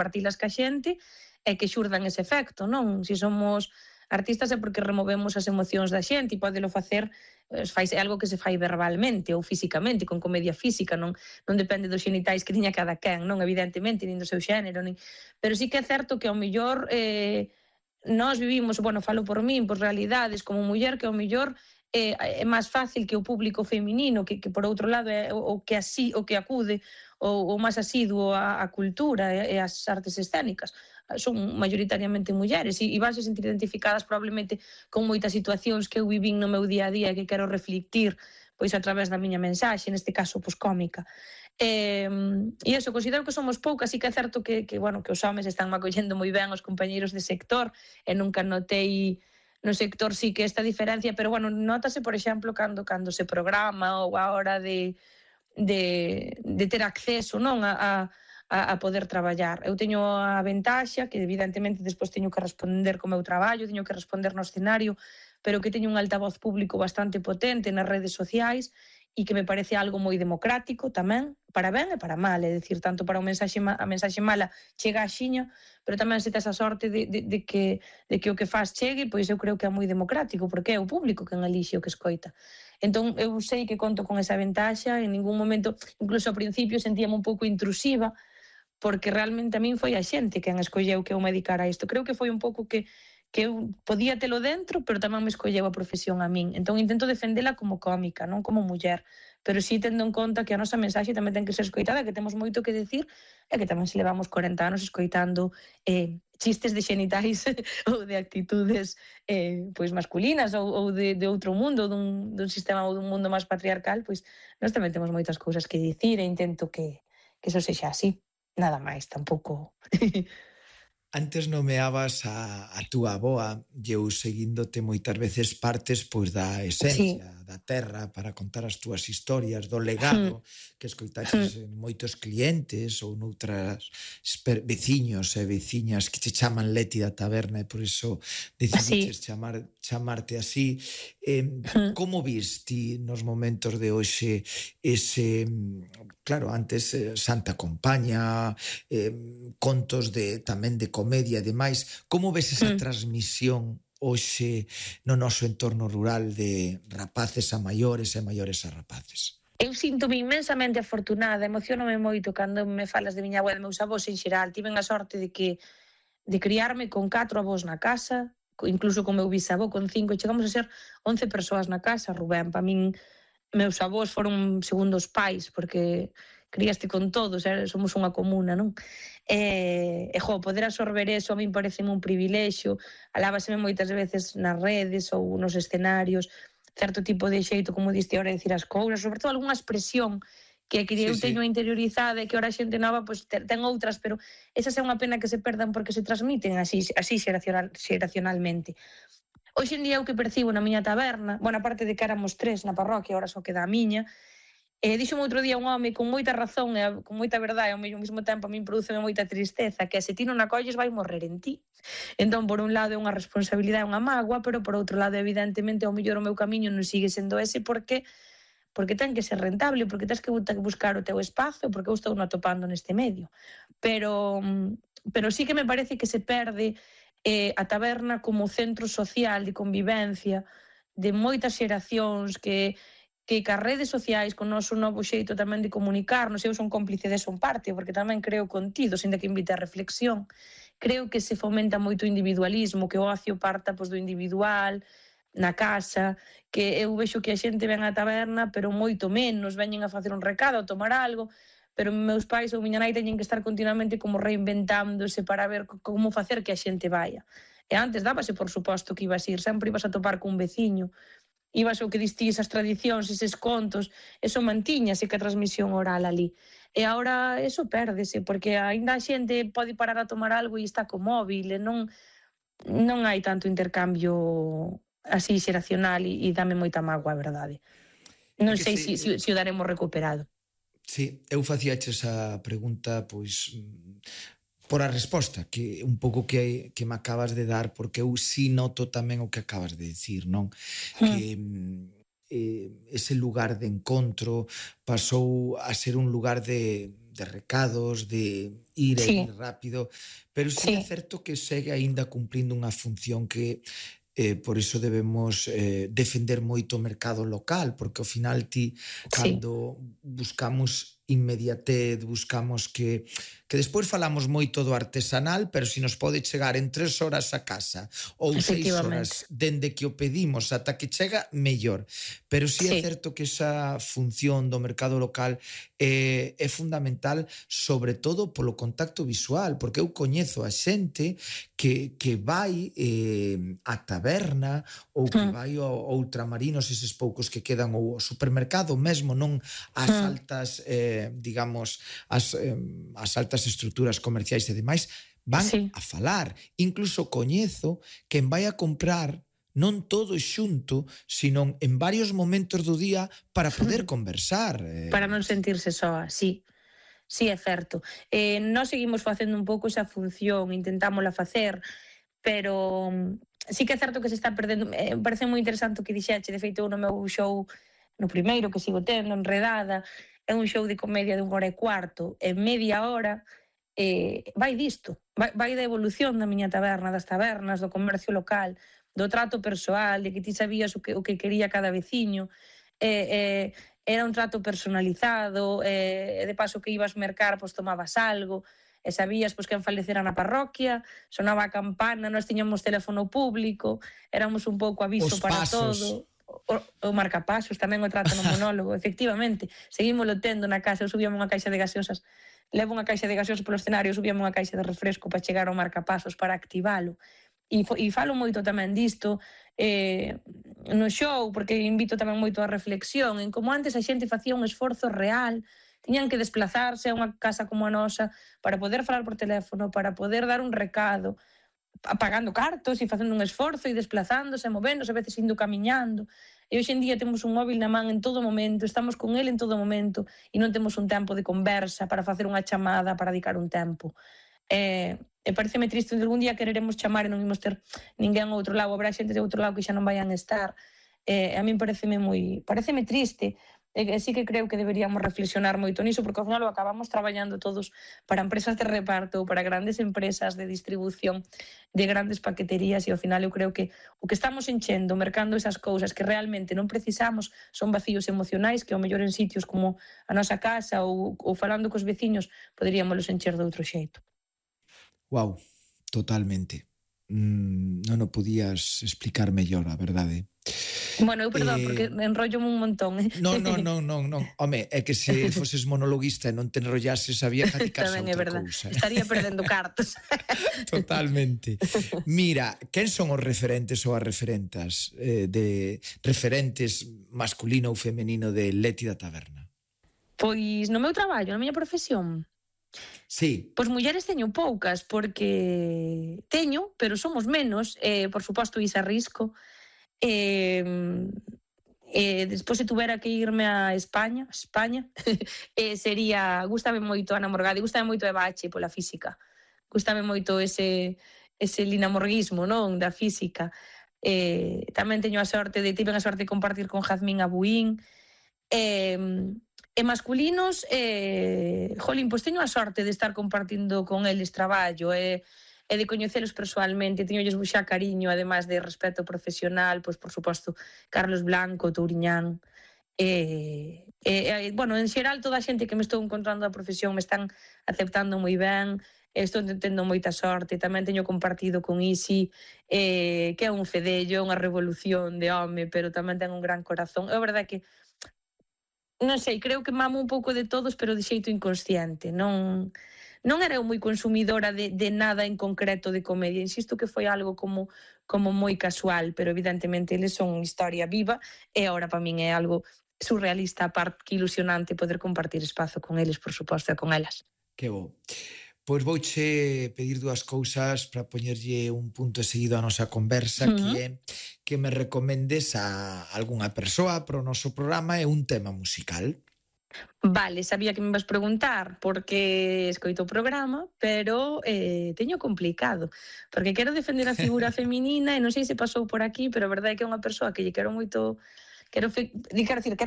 compartilas ca xente e que xurdan ese efecto, non? Se somos artistas é porque removemos as emocións da xente e podelo facer, é algo que se fai verbalmente ou físicamente, con comedia física, non depende dos xenitais que tiña cada quen, non? Evidentemente, nin do seu xénero, pero sí que é certo que ao mellor nós vivimos, bueno, falo por min, por realidades como muller que ao mellor é máis fácil que o público feminino, que por outro lado é o que acude o máis asiduo á cultura e ás artes escénicas, son maioritariamente mulleres e vanse sentir identificadas probablemente con moitas situacións que eu vivín no meu día a día e que quero reflectir pois a través da miña mensaxe, neste caso pois cómica. E iso, considero que somos poucas, e que é certo que os homes están acollendo moi ben os compañeiros de sector e nunca notei no sector sí que esta diferencia, pero notase, por exemplo, cando se programa ou a hora de ter acceso, non, a poder traballar. Eu teño a ventaxa que evidentemente despois teño que responder co meu traballo, teño que responder no escenario, pero que teño un altavoz público bastante potente nas redes sociais e que me parece algo moi democrático tamén, para ben e para mal, é dicir, tanto para a mensaxe mala chega axiña, pero tamén se tes a sorte de que o que faz chegue, pois eu creo que é moi democrático, porque é o público quen elixe o que escoita. Entón, eu sei que conto con esa ventaxa, en ningún momento, incluso ao principio sentíame un pouco intrusiva, porque realmente a min foi a xente quen escolleu que eu me dedicara a isto. Creo que foi un pouco que eu podía telo dentro, pero tamén me escolleu a profesión a min. Entón intento defendela como cómica, non como muller, pero sí tendo en conta que a nosa mensaxe tamén ten que ser escoitada, que temos moito que decir e que tamén se levamos 40 anos escoitando chistes de xenitais ou de actitudes pois masculinas ou de outro mundo, dun sistema ou dun mundo máis patriarcal, pois nós tamén temos moitas cousas que dicir e intento que eso sexa así. Nada máis, tampouco. Antes nomeabas a túa avoa e eu seguíndote moitas veces partes pois da esencia, da terra, para contar as túas historias, do legado que escoitaches en moitos clientes ou noutras veciños e veciñas que che chaman Leti da taberna e por iso decidiches chamarte así. Como viste nos momentos de hoxe ese, claro, antes Santa Compaña, contos tamén de comedia e demais, como ves esa transmisión hoxe no noso entorno rural de rapaces a maiores e maiores a rapaces? Eu síntome inmensamente afortunada, emocionome moito cando me falas de miña avó e de meus avós en xeral. Tiven a sorte de criarme con 4 avós na casa, incluso con meu bisavó con 5, chegamos a ser 11 persoas na casa, Rubén. Para min, meus avós foron segundos pais, porque criaste con todos, somos unha comuna, non? Poder absorber eso a min parece un privilexio, alábaseme moitas veces nas redes ou nos escenarios, certo tipo de xeito, como diste ahora, de dicir as cousas, sobre todo algunha expresión que eu teño interiorizada e que ahora a xente nova ten outras, pero esas é unha pena que se perdan porque se transmiten así xeracionalmente. Hoxe en día o que percibo na miña taberna, aparte de que éramos 3 na parroquia, ahora só queda a miña, dixome outro día un home con moita razón e con moita verdade, ao mesmo tempo a min produceme moita tristeza, que se ti non acolles vai morrer en ti. Entón, por un lado é unha responsabilidade, unha mágoa, pero por outro lado, evidentemente, ao mellor o meu camiño non sigue sendo ese porque ten que ser rentable, porque tens que buscar o teu espazo, porque eu estou non atopando neste medio. Pero sí que me parece que se perde a taberna como centro social de convivencia de moitas xeracións que as redes sociais, con o noso novo xeito tamén de comunicarnos, eu son cómplice de son parte, porque tamén creo contido, sin que invite a reflexión, creo que se fomenta moito o individualismo, que o ocio parta do individual, na casa, que eu vexo que a xente ven á taberna, pero moito menos, veñen a facer un recado, a tomar algo, pero meus pais ou miña nai teñen que estar continuamente como reinventándose para ver como facer que a xente vaya. E antes dábase, por suposto, que ibas ir, sempre ibas a topar cun veciño, ibas o que distís, esas tradicións, eses contos, eso mantíñase que a transmisión oral ali. E agora eso pérdese, porque ainda a xente pode parar a tomar algo e está co móvil, e non hai tanto intercambio así xeracional e dame moita mágoa, a verdade. Non sei se o daremos recuperado. Sí, eu facíache esa pregunta, pois, por a resposta, que un pouco que me acabas de dar, porque eu sí noto tamén o que acabas de dicir, non? Que ese lugar de encontro pasou a ser un lugar de de recados, de ir e vir rápido, pero sí é certo que segue aínda cumplindo unha función que por iso debemos defender moito o mercado local, porque ao final cando buscamos inmediatez, buscamos que despois falamos moito do artesanal, pero se nos pode chegar en 3 horas a casa ou 6 horas dende que o pedimos ata que chega, mellor. Pero sí é certo que esa función do mercado local é fundamental, sobre todo polo contacto visual, porque eu coñezo a xente que vai á taberna ou que vai ao ultramarinos, eses poucos que quedan, ou ao supermercado mesmo, non ás altas digamos, as altas estruturas comerciais e demais, van a falar. Incluso coñezo quen vai a comprar non todo xunto, sino en varios momentos do día para poder conversar. Para non sentirse soa, sí. Sí, é certo. Nós seguimos facendo un pouco esa función, intentámola facer, pero sí que é certo que se está perdendo. Parece moi interesante o que dixeche, de feito, no meu show, no primeiro que sigo tendo, Enredada, é un show de comedia de 1 hora e cuarto, en media hora vai disto, vai da evolución da miña taberna, das tabernas, do comercio local, do trato persoal, de que ti sabías o que quería cada veciño, era un trato personalizado, de paso que ibas mercar, pois tomabas algo, e sabías pois quen falecera na parroquia, sonaba a campana, nós tiñamos teléfono público, éramos un pouco aviso para todo. O marcapasos, tamén o trato no monólogo, efectivamente, seguímoslo tendo na casa, eu subíame unha caixa de gaseosas, levo unha caixa de gaseosas polo escenario, subíame unha caixa de refresco para chegar ao marcapasos, para activalo, e falo moito tamén disto no show, porque invito tamén moito a reflexión, en como antes a xente facía un esforzo real, tiñan que desplazarse a unha casa como a nosa para poder falar por teléfono, para poder dar un recado, pagando cartos e facendo un esforzo e desplazándose, movéndose, a veces indo camiñando. E hoxe en día temos un móvil na man en todo momento, estamos con ele en todo momento e non temos un tempo de conversa para facer unha chamada, para dedicar un tempo. E pareceme triste de algún día quereremos chamar e non imos ter ninguén ao outro lado, habrá xente de outro lado que xa non vayan estar. A min pareceme triste. Sí que creo que deberíamos reflexionar moito niso, porque ao final o acabamos traballando todos para empresas de reparto, para grandes empresas de distribución, de grandes paqueterías, e ao final eu creo que o que estamos enchendo, mercando esas cousas que realmente non precisamos, son vacíos emocionais que ao mellor en sitios como a nosa casa ou falando cos veciños poderíamos encher de outro xeito. Wow, totalmente. Non o podías explicar mellor, a verdade. Bueno, eu perdón, porque me enrollo un montón. Non. Home, é que se foses monologuista e non te enrollases, había que dedicarse a outra cousa. Estaría perdendo cartos. Totalmente. Mira, quen son os referentes ou as referentas de referentes masculino ou femenino de Leti da Taberna? Pois no meu traballo, na miña profesión. Sí. Pois mulleres teño poucas, porque teño, pero somos menos. Por suposto, Isa Risco. Despois se tuvera que irme a España sería, gústame moito Ana Morgade, gústame moito Eva H pola física, gústame moito ese linamorguismo, non, da física. Tamén tiven a sorte de compartir con Jazmín Abuín. E masculinos, jolín, pois teño a sorte de estar compartindo con eles traballo e de coñecelos persoalmente, teñolles xa cariño, ademais de respeto profesional, pois por suposto Carlos Blanco, Touriñán, bueno, en xeral toda a xente que me estou encontrando da profesión me están aceptando moi ben, estou tendo moita sorte. Tamén teño compartido con Isi, que é un fedello, unha revolución de home, pero tamén ten un gran corazón. É verdade que non sei, creo que mamo un pouco de todos, pero de xeito inconsciente. Non era eu moi consumidora de nada en concreto de comedia. Insisto que foi algo como moi casual, pero evidentemente eles son historia viva e agora para min é algo surrealista, aparte que ilusionante poder compartir espazo con eles, por suposto, e con elas. Que bo. Pois vouche pedir dúas cousas para poñerlle un punto seguido á nosa conversa, que é que me recomendes a algunha persoa para o noso programa e un tema musical. Vale, sabía que me ibas preguntar porque escoito o programa, pero teño complicado, porque quero defender a figura feminina e non sei se pasou por aquí, pero a verdade é que é unha persoa que lle quero moito quero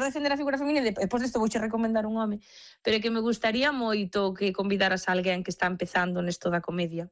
defender a figura feminina e depois desto vouche recomendar un home, pero que me gustaría moito que convidaras a alguén que está empezando nesto da comedia.